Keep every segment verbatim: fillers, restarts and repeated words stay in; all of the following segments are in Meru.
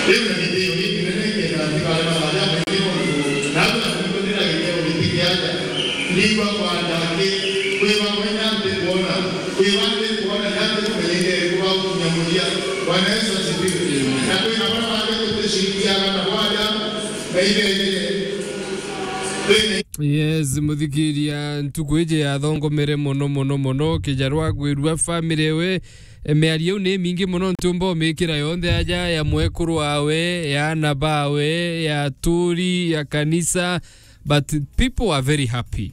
Riu na gitio gikinene kenda ntikare mathaaja maingĩ nontu naarua kumbonera gitio giti kiaja. Ndigua kwanja aki, kwi bamwe na ntikwona, kwi ba ntikwona na ntikumenya indi iriku bagukinya muthia. Bwana Yesu asifiwe. Na kwi na bara bangi tuticikiaga na bwaja, na ibejire. Yes, muthikiria, ntuku iji yathongomere mono, mono, mono. Kijarwa gwirua family ewe, e, miario iu ni mingi mono, ntiumba umikira yonthe aja ya mwekuru wawe, ya ana bawe, ya aturi, ya kanisa, but people are very happy.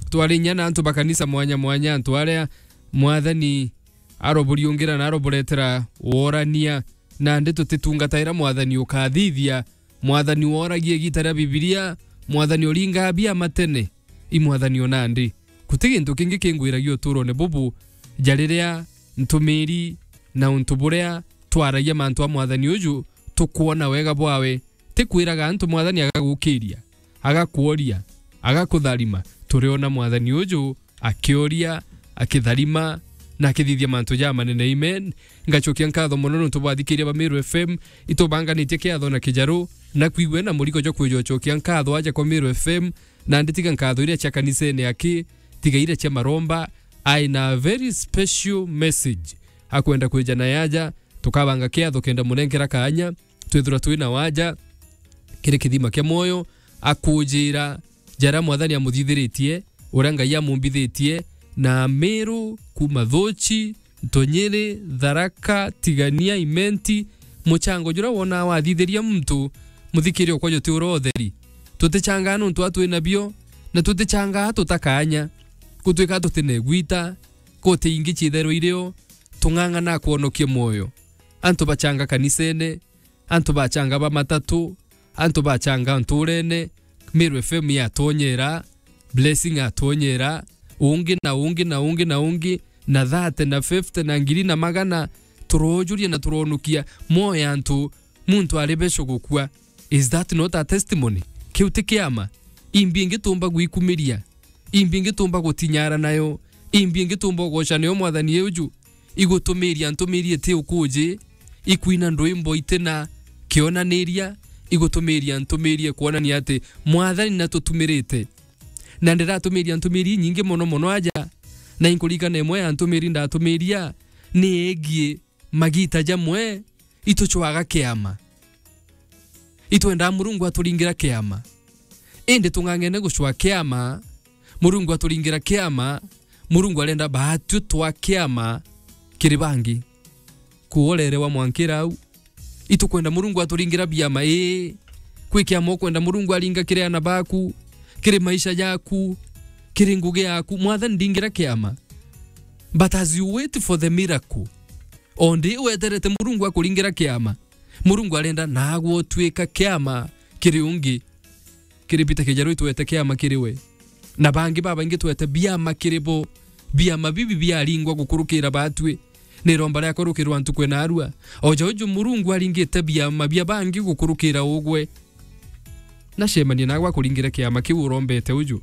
Twari inya na antu ba kanisa mwanya mwanya, antu aria Mwathani aroburiungira na aroburetera worania, nandi tutitungataira Mwathani ukathithia, Mwathani woragia igita ria Bibilia, Mwathani uringaa biama tene, i Mwathani o nandi. Guti gintu kingi kingwiragia uturone bubu, ja riria ntumiri na untu buria twaragia mantu a Mwathani uju, tukwona wega bwawe. Ti kwiraga antu Mwathani agagukiria, agakworia, agakutharima. Turiona Mwathani uju akioria, akitharima, na akithithia mantu jamanene. Amen. Ngacokia nkatho mono nontu bwathikiria ba Meru F M, itubanganitie kiatho na kijaru, na kwigua na murigo jwa kwija ucokia nkatho aja kwa Meru F M, na nditiga nkatho iria cia kanisene aki, tiga iria cia maromba, aina a very special message akwenda kwija na yaja, tukabanga kiatho kenda munenkera kaanya, twithirwa twi na waja kiri kithima kia mwoyo, akujira jaria Mwathani amuthithiritie, uria Ngai amumbithitie, na Meru, kuuma Thuchi, Ntunyiri, Tharaka, Tigania, Imenti, muchango juria wonaa wathithiria muntu, muthikiri okwa juti uria utheri. Tutichangaa nontu a twi nabio, na tutichangaa tutakaanya. Gutwika tuti na igwita, kuti ingi ciithairwa irio, tung'ang'ana kwonokia mwoyo. Antu bachanga kanisene, antu bachanga ba matatu, antu bachanga nturene, Meru F M yatonyera, Blessing atonyera, ungi na ungi na ungi na ungi, na thate na fifty na ngiri na magana, turojuria na turonukia moyo ya antu, muntu ari beco gukua. Is that not a testimony? Kiu ti kiama? Imbi ingi tumba gwikumiria? Imbi ingi tumba gutinyara nayo? Imbi ingi tumba ugoca nayo Mwathani uju? Igutumiria ntumiri iti ukuji, ikwina ndwimbo iti na kionaniria, igutumiria ntumiri kwonania ati Mwathani natutumirite. Na ndiratumiria ntumiri inyingi mono mono aja, na inkuririkana imwe ya ntumiri ndatumiria ni igie magita jamwe itucwaga kiama. Itwendaa Murungu aturingira kiama. Indi tung'ang'ene gucwa kiama, Murungu aturingira kiama, Murungu arenda baatue twa kiama kiri bangi. Kuorerewa mwankira au. Itukwenda Murungu aturingira biama, ii. Kwi kiama ukwenda Murungu aringa kiri ana baku, kiri maisha jaku, kiri ngugi yaku. Mwathani ndingira kiama. But as you wait for the miracle, o ndi weterete Murungu akuringira kiama, Murungu arenda naagwe utuika kiama kiri ungi. Kiri Peter Kijaru itwete kiama kiri we. Na bangi babaingi twete biama kiri bo. Biama bibi biaringwa gukurukira batwi. Ni iromba riakwa rukirwa ntuku ina arua. O ja uju Murungu aringite biama bia bangi gukurukira ugwe. Na cemania naagwe akuringire kiama kiu urombete uju.